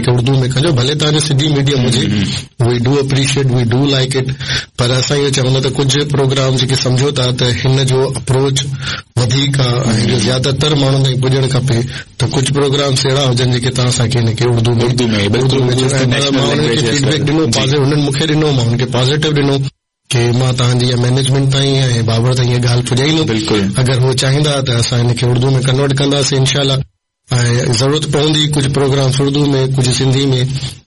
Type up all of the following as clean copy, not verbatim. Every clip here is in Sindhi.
کي اردو ۾ ڪجو ڀلي توهان جو سنڌي ميڊيم هجي we do appreciate we do like it پر اسان اهو چوندا ته ڪجهه پروگرام جيڪي سمجهو ٿا ته هن جو اپروچ وڌيڪ آ ۽ هن جو زياده تر ماڻهن تائين پڄڻ کپي ته ڪجهه پروگرامس اهڙا هجن جيڪي توهان اسان کي هن کي اردو ۾ اردو ۾ بلڪل مان انهن کي فيڊبيڪ ڏنو انهن مون کي ڏنو مان انهن کي پازيٽو ڏنو ڪي مان توهان جي مئنيجمينٽ تائين ۽ بابر تائين اها ڳالهه پڄائيندم بلڪل اگر هو چاهيندا ته اسان هن کي اردو ۾ ڪنورٽ ڪنداسين انشاء الله ۽ ضرورت پوندي ڪجهه پروگرامس اردو ۾ ڪجهه سنڌي ۾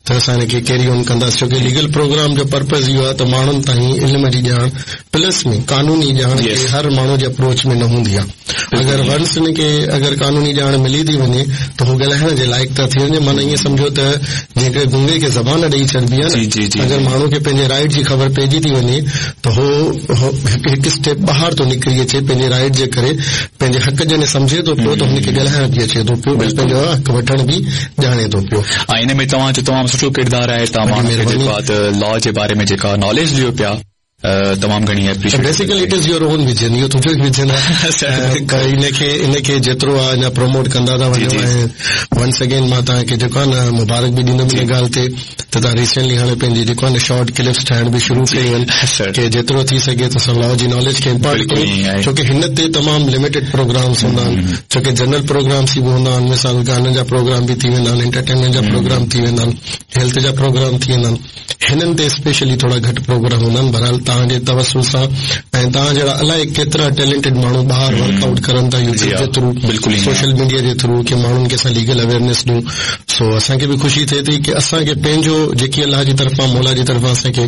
ته اسان هن کي ڪيري آن ڪنداسين ڇو ڪي ليگل پروگرام جو پرپز اهو آهي ته ماڻهن تائين علم جي ڄاڻ پلس ۾ قانوني ڄاڻ کي هر ماڻهو جي اپروچ ۾ نه هوندي آهي اگر ونس هن کي اگر قانوني ڄاڻ ملي ٿي وڃي ته هو ڳالهائڻ جي لائق ٿا ٿي وڃن معنيٰ ائين سمجهو ته جيئن هڪڙي گونگي کي زبان ڏئي ڇڏبي آهي نه اگر ماڻهو کي پنهنجي رائيٽ جي خبر پئجي ٿي وڃي ته هو هڪ اسٽيپ ٻاهر ٿو نڪري اچي پنهنجي رائيٽ جي ڪري پنهنجي حق جڏهن سمجهي ٿو پيو ته هن کي ڳالهائڻ به اچي ٿو پيو ۽ پنهنجو حق وٺڻ به ڄاڻي ٿو پيو. ۽ ان ۾ توهان جو تمام سٺو ڪردار آهي توهان ماڻهن کي جيڪو آهي ته لا جي باري ۾ جيڪا ناليج ڏيو پيا تمام گهڻي appreciate basically it is your own vision اهو تنهنجو ئي ويزن آهي پر ان کي ان کي جيترو آهي اڃا پروموٽ ڪندا ٿا وڃو ۽ ونس اگين مان توهان کي جيڪو آهي نه مبارڪ به ڏيندم ان ڳالهه تي ته توهان ريسينٽلي هاڻي پنهنجي جيڪو آهي نه شارٽ ڪلپس ٺاهڻ به شروع ڪيون آهن ڪي جيترو ٿي سگهي ته اسان لا جي ناليج کي امپارٽ ڪيون ڇو ڪي هن تي تمام لميٽيڊ پروگرامس هوندا آهن ڇو ڪي جنرل پروگرامس ئي به هوندا آهن مثال گانن جا پروگرام به ٿي ويندا آهن انٽرٽينمينٽ جا پروگرام ٿي ويندا آهن هيلٿ جا پروگرام ٿي ويندا آهن هنن تي اسپيشلي ٿورا گهٽ پروگرام هوندا آهن بهرحال توهان جي توسل سان ۽ توهان جهڙا الائي ڪيترا ٽيلنٽيڊ ماڻهو ٻاهر ورڪ آئوٽ ڪرن ٿا يوٽيوب جي ٿرو سوشل ميڊيا جي ٿرو ڪي ماڻهن کي اسان ليگل اويئرنيس ڏيون سو اسان کي به خوشي ٿئي ٿي ڪي اسان کي پنهنجو جيڪي الله جي طرفان مولا جي طرفان اسان کي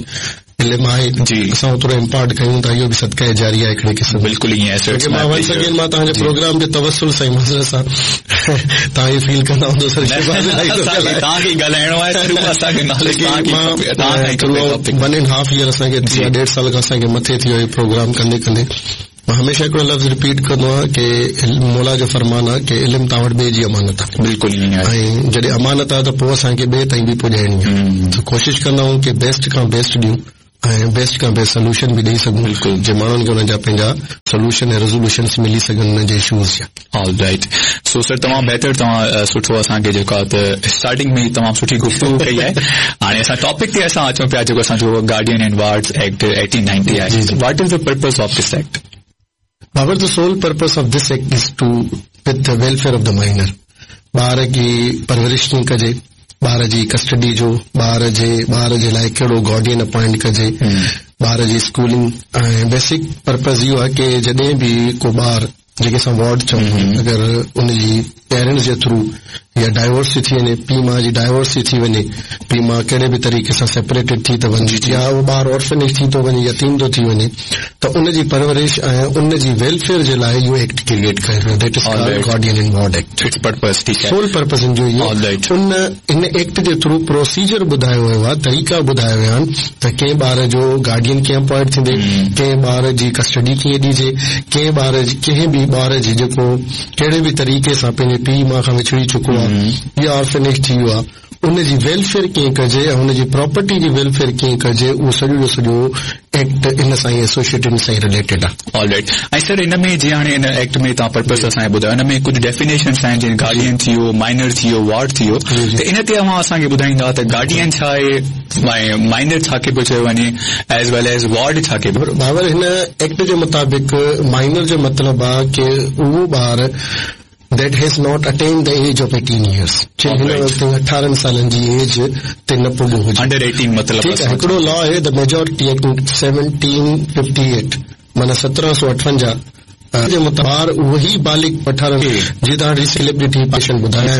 علم آهي اسان اوترو امپارٽ ڪيون ٿا اهو به صدقه جاريه آهي هڪڙي قسم بلڪل ائين آهي سر مان ونس اگين مان توهان جي پروگرام جي توسل سان معذرت سان توهان اهو فيل ڪندا هوندو سر شهباز الاهي ٿو ڳالهائي توهان کي ڳالهائڻو آهي سر اهو اسان کي ناليج توهان کي کپي توهان کان ئي کپي topic one and half year اسان کي ٿي ويو ڏيڍ سال کان اسان کي مٿي ٿي ويو پروگرام ڪندي ڪندي مان هميشه هڪڙو لفظ رپيٽ ڪندو آهيان ڪي مولا جو فرمان آهي ڪي علم توهان وٽ ٻئي جي امانت آهي بلڪل ائين آهي ۽ جڏهن امانت آهي ته پوء اسان کي ٻئي تائين به پڄائڻي آهي ته ڪوشش ڪندا آهيون ڪي بيسٽ کان بيسٽ ڏيون ۽ بيسٽ کان بيسٽ سلوشن به ڏئي سگهون بلڪل جي ماڻهن کي انهن جا پنهنجا سلوشن ۽ ريزولوشنس ملي سگهن انهن جي اشوز جا. آل رائيٽ سو سر تمام بهتر توهان سٺو اسان کي جيڪو آهي ته اسٽارٽنگ ۾ ئي تمام سٺي گفتگو ڪئي آهي هاڻي اسان ٽاپڪ تي اسان اچون پيا جيڪو اسان جو گارڊين اينڊ وارڊز ايڪٽ 1890 آهي what is the purpose of this act Babar the sole purpose of this act is to with the welfare of the minor ٻار جي پرورش ڪيئن ڪجي ٻار جي ڪسٽڊي جو ٻار جي ٻار جي لاء ڪهڙو گارڊين اپوائنٽ ڪجي ٻار جي اسڪولنگ ۽ بيسڪ پرپز اهو آهي ڪي جڏهن به ڪو ٻار جيڪي اسان وارڊ چئون ٿا اگر ان جي پيرنٽس جي ٿرو يا ڊائيورس ٿي ٿي وڃي پيء ماء جي ڊائيورس ٿي ٿي وڃي پيء ماء ڪهڙي به طريقي سان سيپريٽيڊ ٿي ٿو وڃي يا اهو ٻار اورفنيج ٿي ٿو وڃي يتيم ٿو ٿي وڃي ته ان جي پرورش ۽ ان جي ويلفيئر جي لاء اهو ايڪٽ ڪريئيٽ ڪيو ويو that is called guardian and ward act its purpose ٺيڪ آهي سول پرپز ان جو اهو ان ان ايڪٽ جي ٿرو پروسيجر ٻڌايو ويو آهي، طريقا ٻڌايا ويا آهن ته ڪنهن ٻار جو گارڊين ڪيئن اپوائنٽ ٿيندي، ڪنهن ٻار جي ڪسٽڊي ڪيئن ڏجي، ڪنهن ٻار جي ڪنهن به ٻار جي جيڪو ڪهڙي به طريقي سان پنهنجي پيء ماء کان وڇڙي چڪو آهي يا آرفنيج ٿي ويو آهي ان جي ويلفيئر ڪيئن ڪجي ۽ ان جي پراپرٽي جي ويلفيئر ڪيئن ڪجي اهو سڄو جو سڄو ايڪٽ ان سان ئي ايسوسيئيٽڊ ان سان ئي رليٽيڊ آهي. آل رائيٽ ۽ سر ان ۾ جيئن هاڻي ان ايڪٽ ۾ توهان پرپس اسان کي ٻڌايو ان ۾ ڪجهه ڊيفينيشنس آهن جيئن گارڊين ٿي ويو مائنر ٿي ويو وارڊ ٿي ويو ته ان تي اوهان اسان کي ٻڌائيندا ته گارڊين ڇا آهي ۽ مائنر ڇا کي پيو چيو وڃي ايز ويل ايز وارڊ ڇا کي پيو بابر هن ايڪٽ جي مطابق مائنر جو مطلب آهي ڪي اهو ٻار that has not attained the age of 18 years چي هن وقت تائين اٺارهن سالن جي ايج تي نه پڳو هجي انڊر 18 مطلب ٺيڪ آهي هڪڙو لا آهي the majority act 1758 معنيٰ 1758 جي مطابق ٻار اهي بالغ اٺارهن جي توهان ريسينٽ ڪلپ ڏٺي پيشن ٻڌايا